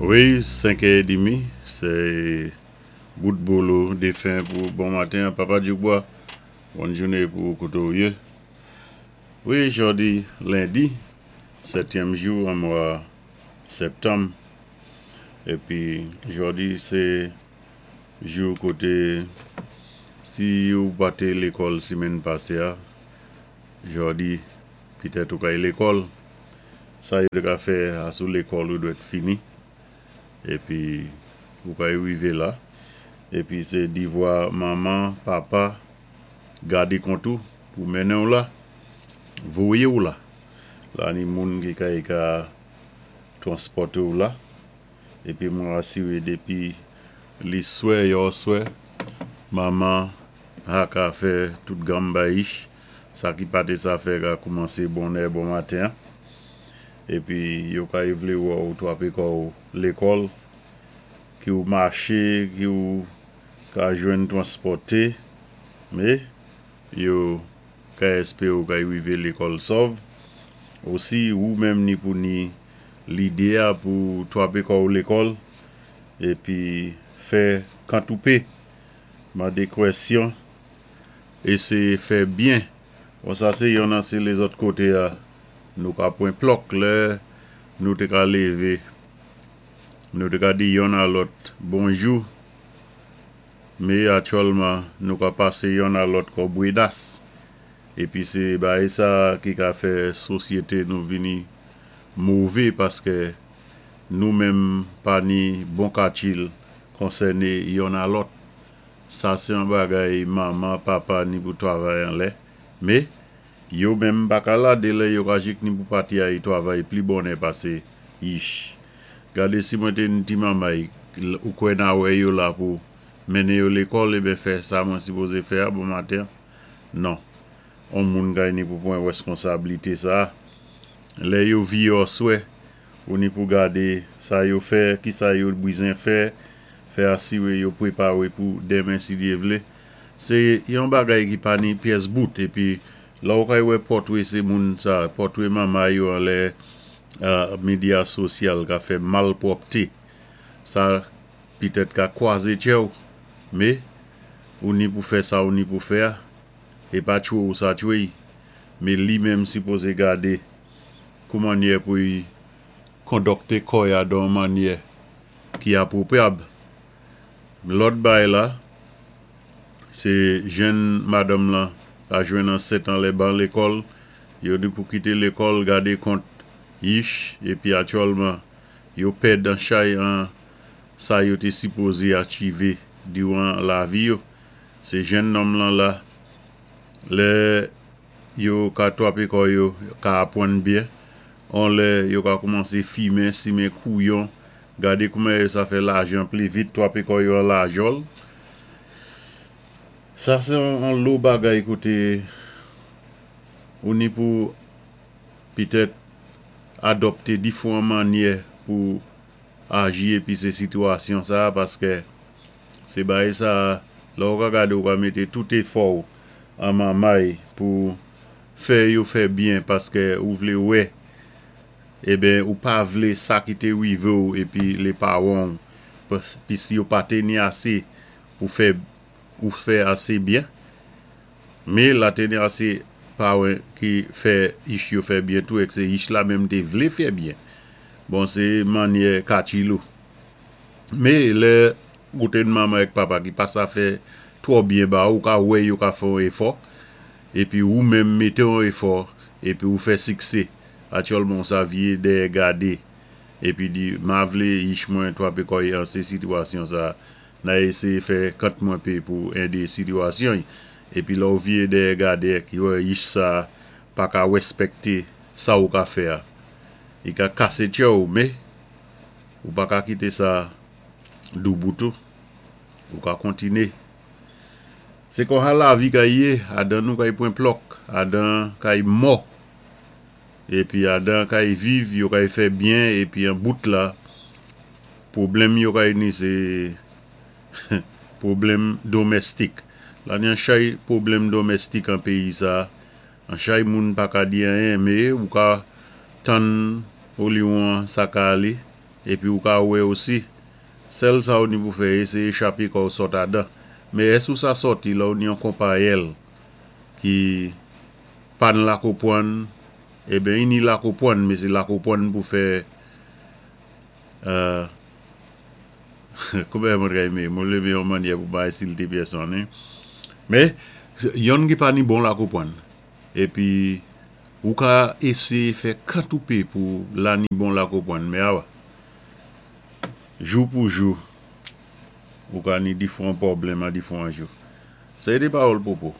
Wi, 5 è demi, sé bout bolo défen pou bon maten Papa Djoubwa. Bòn jouné pou koté-w yé. Wi, jòdi lendi, sètyèm jou an mwa sèptanm. Épi jòdi sé jou koté si ou pa té lékòl simenn pasé-a, jòdi pitèt ou kay lékòl. Sa yo té ka fè asou lékòl ou dwèt fini épi ou kay wivé la. Épi sé divwa manman, papa gadé kont ou pou mennen-w la, voyé-w la. La ni moun ki kay ka twanspòté-w la. Épi mwen asiré dépi li swè yòswè, manman ha ka fè tout ganmbayich sa ki pa té sa fè ka koumansé bonnè bon maten. Épi yo kay vlé wè-w twapé kò-w lékòl, ki ou maché, ki ou ka jwenn twanspòté, mé yo kay èspéré ou kay wivé lékòl sòv. Osi ou menm ni pou ni lidé-a pou twapé kò-w lékòl épi fè kant ou pé, mandé kwèsyon, éséyé fè byen. Bon, sa sé yonn an sé lézòt koté-a nou ka pwan plòk lè nou té ka lévé, nou té ka di yonn a lòt bonjou, mé aktyèlman nou ka pasé yonn a lòt kon bwénas. Épi sé bagay sa ki ka fè sosyété nou vini mové paskè nou menm pa ni bon katil konsèné yonn a lòt. Sa sé an bagay manman, papa ni pou twavay anlè, mé yo menm pa ka la délè yo ka jik ni pou pati ay twavay pli bonnè pasé yich. Gadé si mwen té yn ti manmay, ou kwè na wè yo la pou mennen yo lékòl eben fè sa mwen sipozé fè-a bon maten? Non. On moun kay ni pou pwan wèskonsablité sa. Lè yo viyé òswè, ou ni pou gadé sa yo fè, kisa yo bwizen fè, fè asiré yo pwépawé pou denmen si Dyé vlé. Sé yon bagay ki pa ni pyès bout épi la ou kay wè pòtwé sé moun sa, pòtwé manmay yo anlè medya sosyal ka fè malpwòpté. Sa pitèt ka kwazé tchè-w, mé ou ni pou fè sa ou ni pou fè-a, é pa tchwé ou sa tchwé-y, mé li menm sipozé gadé kou mannyè pou y kondòkté kò-y-a dan yon mannyè ki apwopwyab. Lòt bagay la, sé jenn madanm lan ka jwenn ansent anlè ban lékòl, yo ni pou kité lékòl gadé kont yich épi aktyèlman yo pèd an chay an sa yo té sipozé achivé diwan lavi yo. Sé jenn nonm lan la, lè yo ka twapé kò yo, ka apwann byen, on lè yo ka koumansé fimen, simen kouyon, gadé kouman yo sa fè lajan pli vit, twapé kò yo an lajòl. Sa sé an lo bagay koté ou ni pou pitèt adòpté difwan mannyè pou aji épi sé sitiyasyon sa paskè sé bagay sa lè ou ka gadé ou ka mété tout éfò-w an manmay pou fè yo fè byen paskè ou vlé wè eben ou pa vlé sa ki té wivé-w épi lé pawan-w pis yo pa té ni asé pou fè ou fè asé byen, mé la té ni asé pawan ki fè yich yo fè byen tou èk sé yich la menm té vlé fè byen. Bon, sé mannyè katil ou. Mé lè ou té yn manman èk papa ki pa sa fè twò byen ba ou, ou ka wè yo ka fè yon éfò épi ou menm mété yon éfò épi ou fè siksé. Aktyèlman ou sa viyé dèyè gadé épi di ma vlé yich mwen twapé kò-y an sé sitiyasyon sa na éséyé fè kant mwen pé pou édé sitiyasyon-y. Épi lè ou viyé dèyè gadé èk wè yich sa pa ka wèspèkté sa ou ka fè-a, i ka kasé tchè-w, mé ou pa ka kité sa doubout ou, ou ka kontiné. Sé konsa lavi kay yé, adan nou kay pwan plòk, adan kay mò, épi adan kay viv, yo kay fè byen épi an bout la, pwoblèm yo kay ni sé pwoblèm domèstik. La ni an chay pwoblèm domèstik an péyi sa, an chay moun pa ka di anyen, mé ou ka tann oliwon sa ka alé. Épi ou ka wè osi, sèl sa ou ni pou fè éséyé chapé kò'w sòt adan. Men ès ou sa sòti lè ou ni yon konpayèl ki pa ni lakopwann, eben i ni lakopwann, men sé lakopwann pou fè kouman mwen ka émé, mwen vlé mé yon mannyè pou pa ensilté pèsonn wi. Men, yonn ki pa ni bon lakopwann. Épi ou ka éséyé fè kantoupe pou la ni bon lakopwann, men awa, jou pou jou, ou ka ni difwan pwoblèm a difwan jou. Sa é té pawòl Popo.